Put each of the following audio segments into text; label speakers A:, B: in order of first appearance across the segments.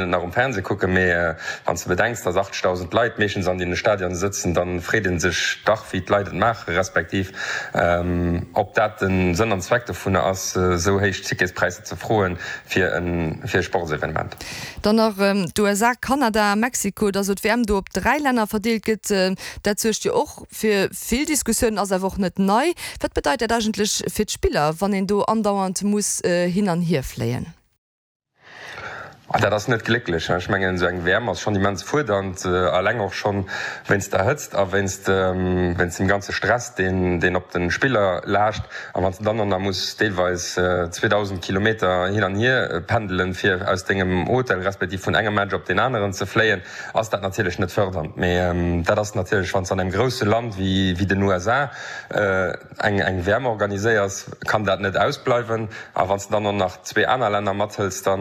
A: Et nach um Fernseh kucken, mee wann s de bedenks, dass 80.000 Leit meeschtens an deene Stadionen sëtzen, da freet ee sech dach, wéi d'Leit et maachen, respektiv ob dat de Sënn an Zweck dovunner ass, esou héich Ticketspräisser ze froen fir e Sportsevenement.
B: Dann nach d'USA, Kanada, Mexiko, dass elo d'WM do op 3 Länner verdeelt gëtt, dat suergt jo och fir vill Diskussiounen, ass awer och net nei. Wat bedeit dat eigentlech fir d'Spiller, wann een do andauernd muss hin an hier fléien?
A: Dat ass net glécklech. Ech mengen, esou eng WM ass schonn immens fuerdernd, eleng och schonn wéinst der Hëtzt a wéinst wéinst dem ganze Stress, deen deen op de Spiller laascht. A wann s de dann och nach muss deelweis 2.000 Kilometer hin an hier pendelen, fir aus dengem Hotel respektiv vun engem Match op deen aneren ze fléien, ass dat natierlech net fërdernd. Mee dat ass natierlech, wann s de an engem grousse Land wéi den USA eng eng WM organiséiers, kann dat net ausbleiwen. A wann s de dann och nach zwee aner Länner mathëls, da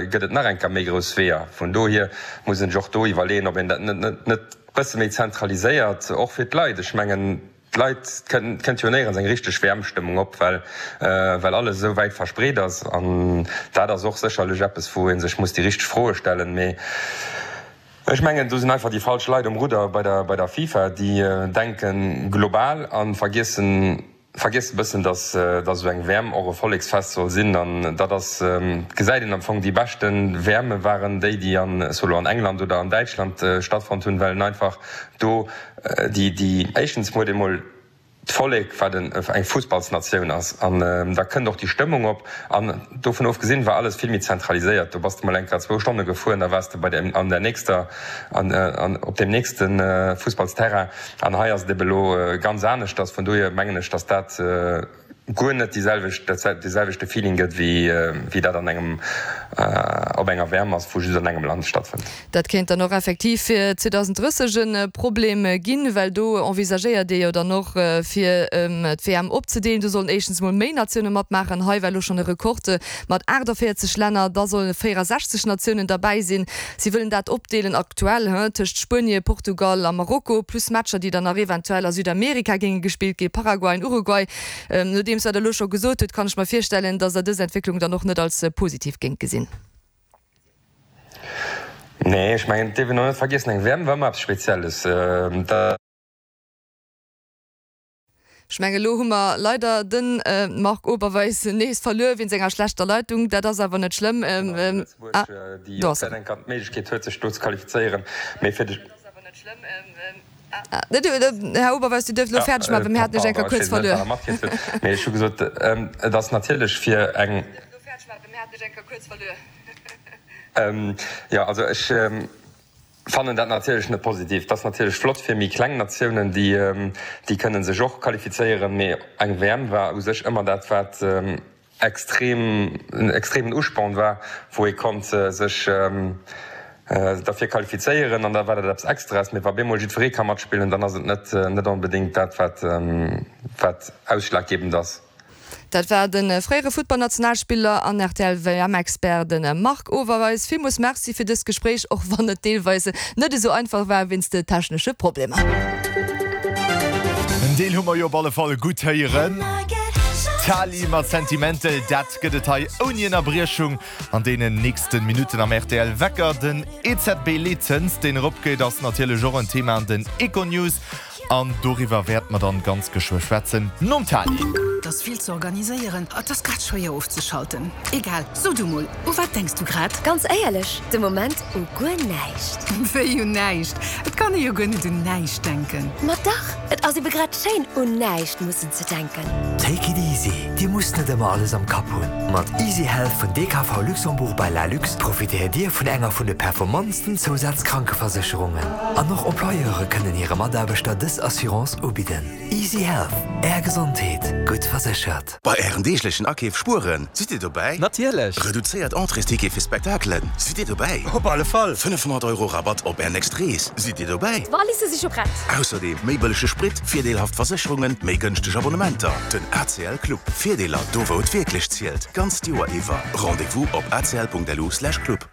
A: gëtt et nach eng Kéier méi grouss Weeër. Vun dohier muss een sech och do iwwerleeën, ob een dat net net bësse méi zentraliséiert, och fir d'Leit. Ech mengen, d'Leit, et kënnt jo néierens eng richteg WM-Stëmmung op, well well alles esou wäit verspreet ass. An dat ass och sécherlech eppes, wou ee sech muss déi richteg Froe stellen. Mee Ech mengen, do sinn einfach déi falsch Leit um Rudder bei der, bei der FIFA. Déi denke global a vergiessen, vergiessen e bëssen, datt, datt esou eng WM och e Volleksfest soll sinn. An dat ass, gesäit een am Fong, déi beschte WMe waren déi, déi an, solo an England oder an Däitschland stattfonnt hunn, well en einfach do déi, déi éischtens huet ee mol, d'Vollek, wat eng Fussballsnatioun ass, an da kënnt och déi Stëmmung op. An dovun ofgesinn war alles vill méi zentraliséiert. Do bass de mol eng Kéier zwou Stonne gefuer an da waars de bei der, an der nächster, an, an op deem nächste Fussballsterrain. An hei ass et ebe lo ganz aneschters. Vun dohier mengen ech, datt dat guer net déi selwecht, dat dee selwechte Feeling gëtt, wéi, wéi dat an engem, op enger WM ass, wou just an engem Land stattfënnt.
B: Dat kéint dann och effektiv fir 2030 e Problem ginn, well do envisagéiert ee jo dann och, fir d'WM opzedeelen. Do sollen éischtens mol méi Natioune matmaachen. Hei war elo schonn e Rekord mat 48 Länner, da solle 64 Natiounen derbäi sinn. Si wëllen dat opdeelen aktuell tëscht Spuenie, Portugal a Marokko, plus Matcher, déi dann nach eventuell a Südamerika géinge gespillt ginn, Paraguay an Uruguay. Nodeems wat Der elo scho gesot hutt, kann ech mer virstellen, datt Der dës Entwécklung dann och net als positiv géingt gesinn.
A: Nee, ech mengen, et dierf een och net vergiessen, eng WM war ëmmer eppes Spezielles. Dat.
B: Ech mengen, elo hu mer leider de Marc Oberweis nees verluer wéinst enger schlechter Leitung. Dat ass awer net schlëmm.
A: Lëtzebuerg, déi och dat eng Kéier d'Méiglechkeet huet, sech do ze qualifizéieren. Mee fir de.
B: Här Oberweis, Dir duerft elo fäerdeg maachen, well mir haten Iech eng Kéier kuerz verluer.
A: Mee ech hu gesot, et ass natierlech fir eng. Jo, also ech fannen dat natierlech net positiv. Et ass natierlech flott fir méi kleng Natiounen, déi, déi kënne sech och qualifizéieren. Mee eng WM war u sech ëmmer dat, wat extrem, en extremen Usporn war, wou ee konnt sech derfir qualifizéieren an da war dat eppes Extraes. Mee wa bemol jiddweree ka matspillen, dann ass et net, net onbedéngt dat, wat, wat ausschlaggebend ass.
B: Dat war de fréiere Futtballnationalspiller an RTL-WM-Expert, de Marc Overeis. Villmools Merci fir dëst Gespréich, och wann et deelweis net esou einfach war wéinst de technesche Problemer.
C: En Deel hu mer jo op alle Fall gutt héieren. Tali mat Sentimental, dat gëtt et hei ouni Ënnerbriechung an deenen nächsten Minutten am rtl Wecker. Den EZB-Leetzëns, deen eropgeet, ass natierlech och en Thema an den Econews. An doriwwer wäerte mer dann ganz geschwë schwätzen nom Tali.
D: Et ass vill ze organiséieren, et ass grad schwéier ofzeschalten. Egal, so du mol, u wat denks du grad?
E: Ganz éierlech, de Moment u guer näischt.
D: Wéi un näischt? Et kann ee jo guer net un näischt denken.
E: Ma dach, et ass ebe grad schéin, un näischt mussen ze denken.
F: Take it easy, Dir musst net ëmmer alles am Kapp hunn. Mat Easy Health vun DKV Luxembourg by Lalux profitéiert Dir vun enger vun de performantsten Zousazkrankeversécherungen. An och Employeure kënnen hire Mataarbechter dës Assurance ubidden. Easy Health, Är Gesondheet, gutt verséchert.
G: Bei Ären deeglechen Akeef spueren, sidd Dir dobäi?
H: Natierlech!
G: Reduzéiert Entréesticket fir Spektakelen, sidd Dir dobäi?
H: Op alle Fall!
G: 500 Euro Rabatt op Är nächst Rees, sidd Dir dobäi?
E: D'Walisse si scho prett!
G: Ausserdeem méi bëllege Sprit, virdeelhaft Versécherungen, méi gënschteg Abonnementer. Den ACL Club, Virdeeler do wou et wierklech zielt, d'ganzt Joer iwwer. Rendez-vous op acl.lu/club.